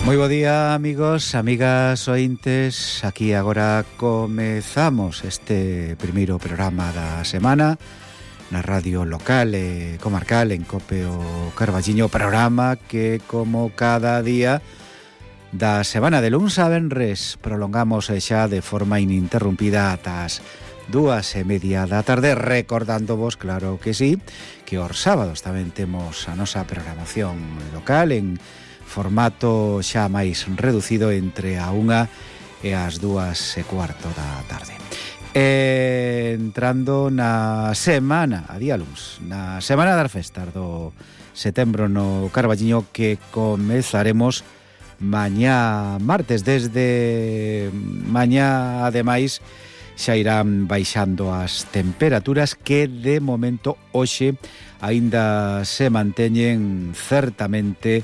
Moi bo día, amigos, amigas, ointes. Aquí agora comezamos este primeiro programa da semana na radio local e comarcal en Cope o Carballiño, programa que, como cada día da semana de luns a venres, prolongamos xa de forma ininterrumpida ata as 2:30 da tarde, recordándovos, claro que sí, que os sábados tamén temos a nosa programación local en formato xa máis reducido entre a 1 e as 2:15 da tarde. Entrando na semana, a día luns, na semana das festas do setembro no Carballiño, que comezaremos mañá martes. Desde mañá, ademais, xa irán baixando as temperaturas que de momento hoxe aínda se manteñen certamente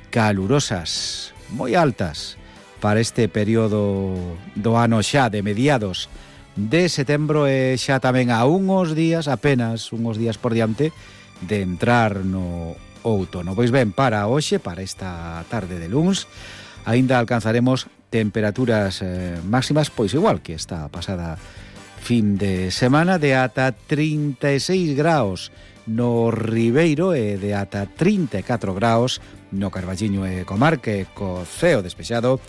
calurosas, moi altas para este período do ano xa de mediados de setembro e xa tamén a apenas uns días por diante de entrar no outono. Pois ben, para hoxe, para esta tarde de luns, aínda alcanzaremos temperaturas máximas, pois igual que esta pasada fin de semana, de ata 36 graus no Ribeiro e de ata 34 graus no Carballiño e comarca, co ceo despexado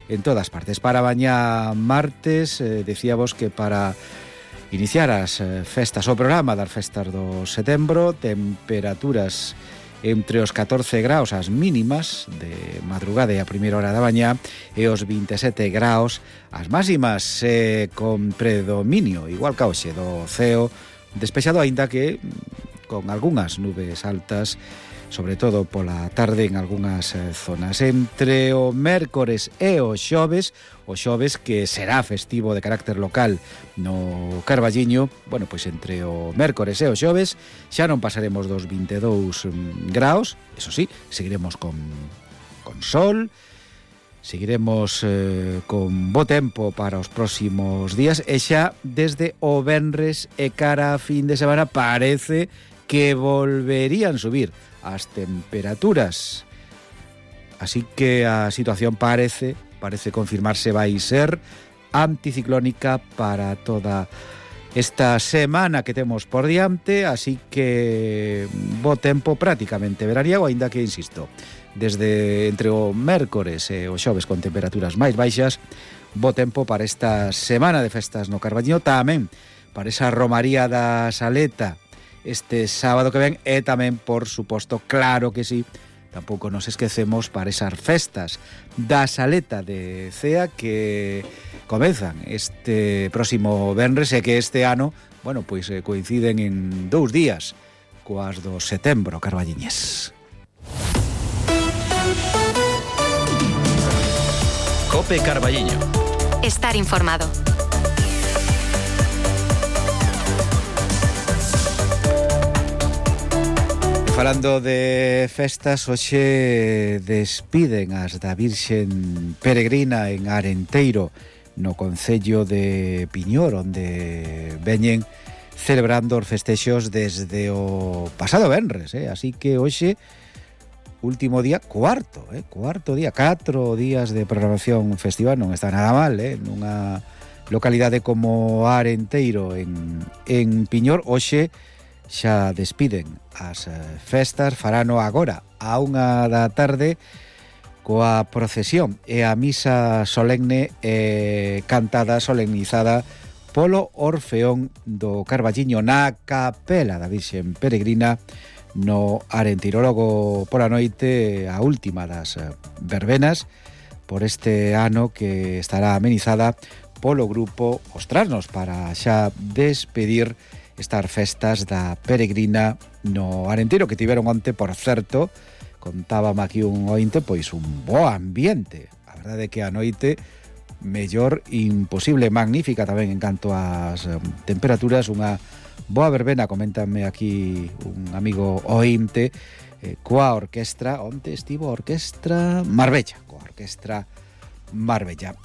en todas partes. Para mañá martes, decíamos que para iniciar as festas, o programa das festas do setembro, temperaturas entre os 14 graus as mínimas de madrugada e a primeira hora da mañá e os 27 graus as máximas, con predominio, igual que hoxe, do ceo despexado, aínda que con algunhas nubes altas, sobre todo pola tarde en algunhas zonas. Entre o mércores e o xoves que será festivo de carácter local no Carballiño, bueno, pois entre o mércores e o xoves xa non pasaremos dos 22 graus, eso sí, seguiremos con sol, seguiremos con bo tempo para os próximos días, e xa desde o venres e cara a fin de semana parece que volverían subir as temperaturas. Así que a situación parece confirmarse, vai ser anticiclónica para toda esta semana que temos por diante, así que bo tempo prácticamente veraniego, aínda que, insisto, desde entre o mércores e o xoves con temperaturas máis baixas, bo tempo para esta semana de festas no Carballiño, tamén para esa romaría da Saleta este sábado que ven, e tamén, por suposto, claro que sí, tampouco nos esquecemos para esas festas da Saleta de Cea que comezan este próximo venres e que este ano, bueno, pois coinciden en 2 días coas do setembro carballiñés. Cope Carballiño. Estar informado. Falando de festas, hoxe despiden as da Virxen Peregrina en Arenteiro, no concello de Piñor, onde veñen celebrando os festexos desde o pasado venres, así que hoxe, último día, cuarto día, 4 días de programación festiva, non está nada mal, nunha localidade como Arenteiro en Piñor. Hoxe xa despiden as festas, farano agora a 1 da tarde coa procesión e a misa solemne cantada, solemnizada polo Orfeón do Carballiño na capela da Virxen Peregrina no Arenteiro. Logo pola noite a última das verbenas por este ano, que estará amenizada polo grupo Os Trasnos, para xa despedir estas festas da Peregrina no Arenteiro, que tiveron onte, por certo, contábame aquí un ointe, pois un bo ambiente. A verdade é que a noite mellor imposible, magnífica tamén en canto ás temperaturas, unha boa verbena, coméntame aquí un amigo ointe, coa orquestra, onte estivo a orquestra Marbella, coa orquestra Marbella.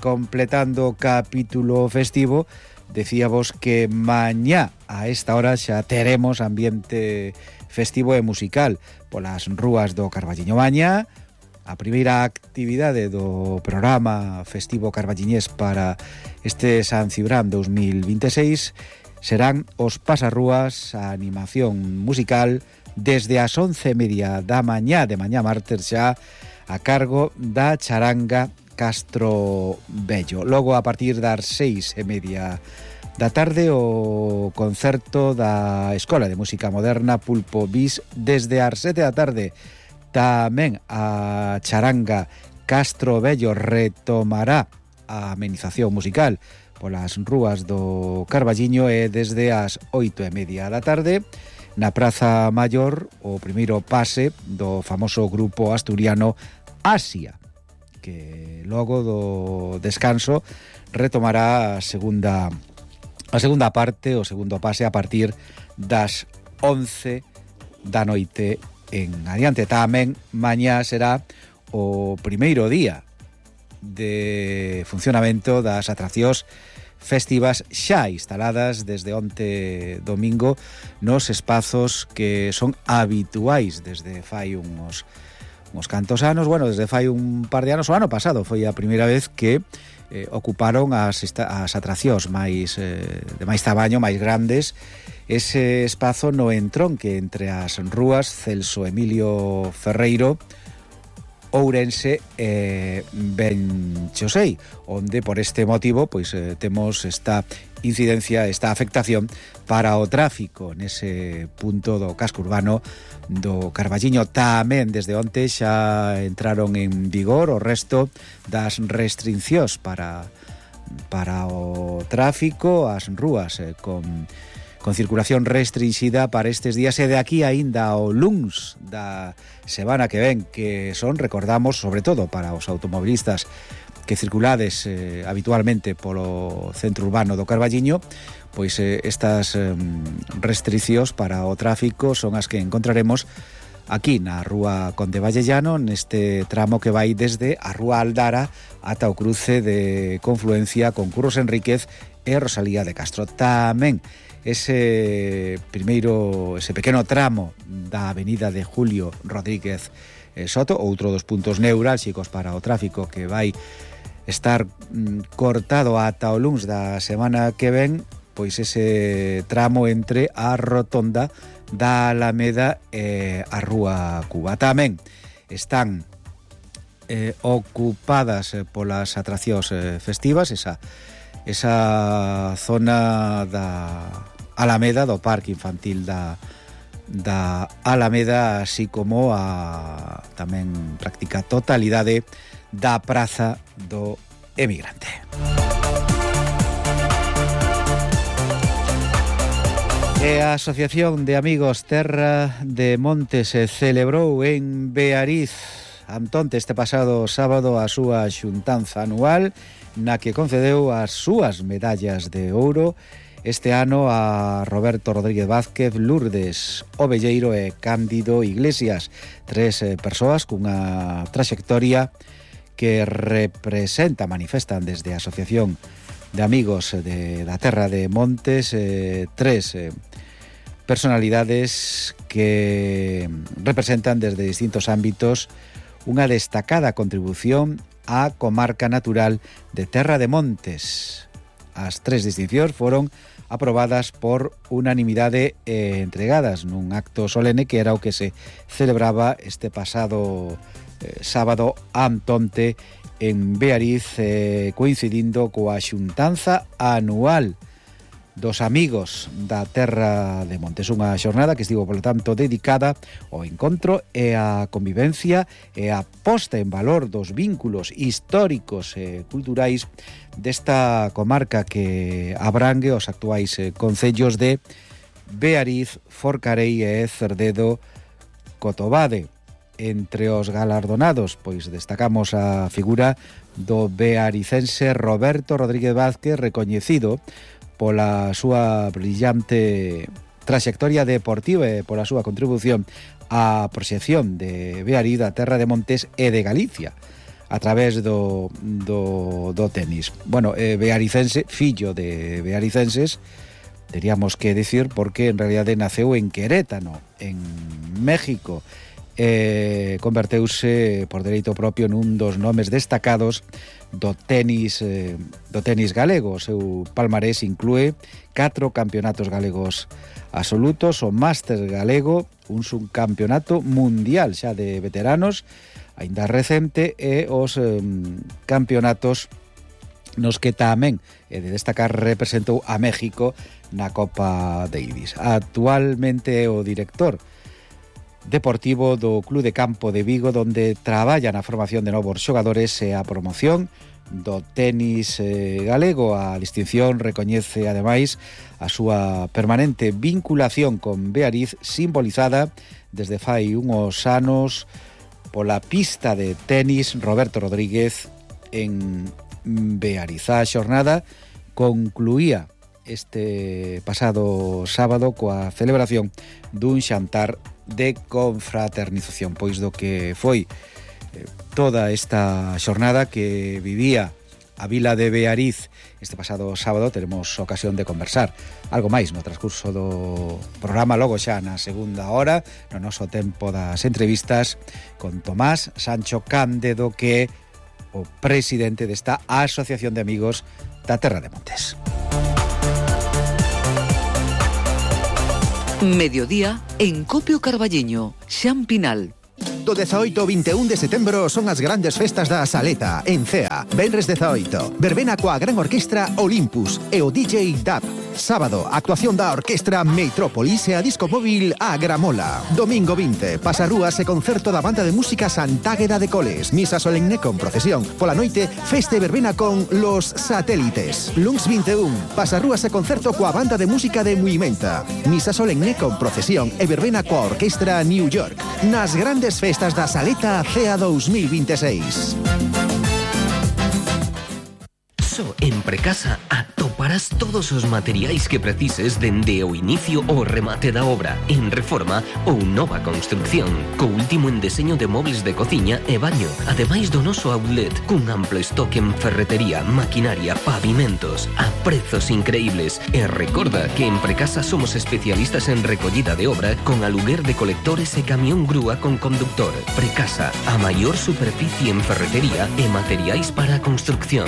Completando o capítulo festivo, decíamos que mañá a esta hora xa teremos ambiente festivo e musical polas rúas do Carballiño. Mañá A primeira actividade do programa festivo carballiñés para este San Cibrán 2026 serán os pasarrúas, a animación musical desde as 11:30 da mañá de mañá martes xa a cargo da charanga Castro Bello. Logo a partir das 6:30 da tarde o concerto da Escola de Música Moderna Pulpo Bis desde as 7 da tarde. Tamén a charanga Castro Bello retomará a amenización musical polas rúas do Carballiño e desde as 8:30 da tarde na Praza Maior o primeiro pase do famoso grupo asturiano Asia, que logo do descanso retomará a segunda parte, o segundo pase a partir das 11 da noite en adiante. Tamén mañá será o primeiro día de funcionamento das atraccións festivas xa instaladas desde onte domingo nos espazos que son habituais desde fai uns cantos anos, bueno, desde fai un par de anos, o ano pasado foi a primeira vez que ocuparon as atraccións máis de máis tamaño, máis grandes, ese espazo no entronque entre as rúas Celso Emilio Ferreiro, Ourense e Benchosei, onde por este motivo pois temos esta incidencia, esta afectación para o tráfico nese punto do casco urbano do Carballiño. Tamén desde onte xa entraron en vigor o resto das restriccións para o tráfico, as rúas con circulación restringida para estes días e de aquí aínda ao luns da semana que ven, que son, recordamos, sobre todo para os automobilistas que circulades habitualmente polo centro urbano do Carballiño, pois estas restriccións para o tráfico son as que encontraremos aquí na Rúa Conde Vallellano, neste tramo que vai desde a Rúa Aldara ata o cruce de confluencia con Curros Enríquez e Rosalía de Castro. Tamén ese pequeno tramo da avenida de Julio Rodríguez Soto, outro dos puntos neurálxicos para o tráfico que vai estar cortado ata o luns da semana que ven, pois ese tramo entre a rotonda da Alameda e a Rúa Cuba. Tamén están ocupadas polas atraccións festivas esa zona da Alameda, do Parque Infantil da Alameda, así como a tamén práctica totalidade da Praza do Emigrante. E a Asociación de Amigos Terra de Montes celebrou en Beariz Antonte este pasado sábado a súa xuntanza anual na que concedeu as súas medallas de ouro este ano a Roberto Rodríguez Vázquez, Lourdes Ovelleiro e Cándido Iglesias, tres persoas cunha traxectoria que manifestan desde a Asociación de Amigos da Terra de Montes tres personalidades que representan desde distintos ámbitos unha destacada contribución á comarca natural de Terra de Montes. As tres distincións foron aprobadas por unanimidade e entregadas nun acto solene que era o que se celebraba este pasado sábado Antonte en Beariz, coincidindo coa xuntanza anual dos Amigos da Terra de Montes, unha xornada que estivo, polo tanto, dedicada ao encontro e á convivencia e á posta en valor dos vínculos históricos e culturais desta comarca que abrangue os actuais concellos de Beariz, Forcarei e Cerdedo Cotobade. Entre os galardonados, pois destacamos a figura do bearicense Roberto Rodríguez Vázquez, recoñecido pola súa brillante traxectoria deportiva e pola súa contribución á proxección de Beariz, da Terra de Montes e de Galicia a través do tenis. Bueno, bearicense, fillo de bearicenses, teríamos que decir, porque en realidade naceu en Querétano, en México, converteuse por dereito propio nun dos nomes destacados do tenis galego. O seu palmarés inclúe 4 campeonatos galegos absolutos, o Máster galego, un subcampeonato mundial xa de veteranos, aínda recente, e os campeonatos nos que tamén de destacar representou a México na Copa Davis. Actualmente é o director deportivo do Club de Campo de Vigo, donde traballa na formación de novos xogadores e a promoción do tenis galego. A distinción recoñece ademais a súa permanente vinculación con Beariz, simbolizada desde fai uns anos pola pista de tenis Roberto Rodríguez en Beariz. A xornada concluía este pasado sábado coa celebración dun xantar de confraternización, pois do que foi toda esta xornada que vivía a vila de Beariz este pasado sábado. Teremos ocasión de conversar algo máis no transcurso do programa, logo xa na segunda hora, no noso tempo das entrevistas, con Tomás Sancho Cándedo, que é o presidente desta Asociación de Amigos da Terra de Montes. Mediodía en Copio Carballiño, Xan Pinal. Do 18 ao 21 de setembro son as grandes festas da Saleta, en Cea. Venres 18, verbena coa gran orquestra Olympus e o DJ Dab. Sábado, actuación da orquestra Metrópolis e a disco móvil A Gramola. Domingo 20, pasarrúas e concerto da banda de música Santágueda de Coles. Misa solemne con procesión. Pola noite, festa e verbena con Los Satélites. Luns 21, pasarrúas e concerto coa banda de música de Muimenta. Misa solemne con procesión e verbena coa orquestra New York. Nas grandes festas da Saleta Cea 2026. Só en Precasa atoparás todos os materiais que precises dende o inicio ao remate da obra, en reforma ou nova construcción, co último en deseño de móveis de cociña e baño, ademais do noso outlet, cun amplo estoque en ferretería, maquinaria, pavimentos, a prezos increíbles. E recorda que en Precasa somos especialistas en recollida de obra, con aluguer de colectores e camión grúa con conductor. Precasa, a maior superficie en ferretería e materiais para a construcción.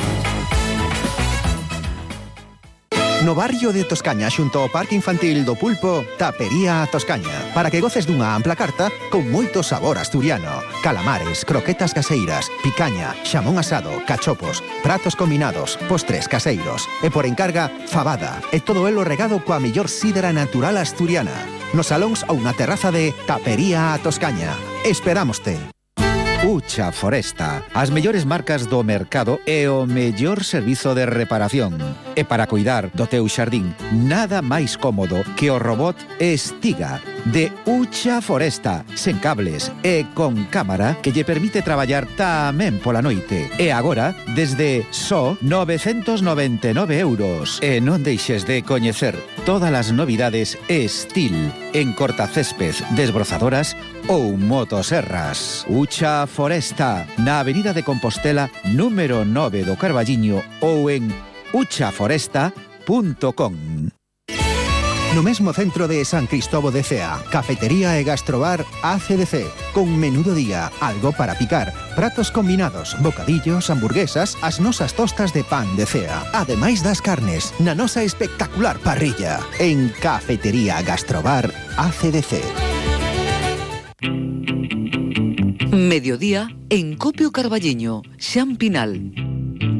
No barrio de Toscaña, xunto ao Parque Infantil do Pulpo, Tapería Toscaña, para que goces dunha ampla carta con moito sabor asturiano. Calamares, croquetas caseiras, picaña, xamón asado, cachopos, pratos combinados, postres caseiros e por encarga, fabada, e todo elo regado coa mellor sidra natural asturiana. Nos salóns ou na terraza de Tapería Toscaña. Esperámoste. Ucha Foresta, as mellores marcas do mercado e o mellor servizo de reparación. E para cuidar do teu xardín, nada máis cómodo que o robot Estiga de Ucha Foresta, sen cables e con cámara que lle permite traballar tamén pola noite. E agora, desde só 999 euros. E non deixes de coñecer todas as novidades Estil en cortacésped, desbrozadoras ou motoserras. Ucha Foresta, na Avenida de Compostela, número 9 do Carballiño, ou en uchaforesta.com. No mesmo centro de San Cristóbal de Cea, cafetería e gastrobar ACDC, con menú do día, algo para picar, pratos combinados, bocadillos, hamburguesas, as nosas tostas de pan de Cea, ademais das carnes, na nosa espectacular parrilla, en cafetería gastrobar ACDC. Mediodía en Copio Carballiño, Xan Pinal.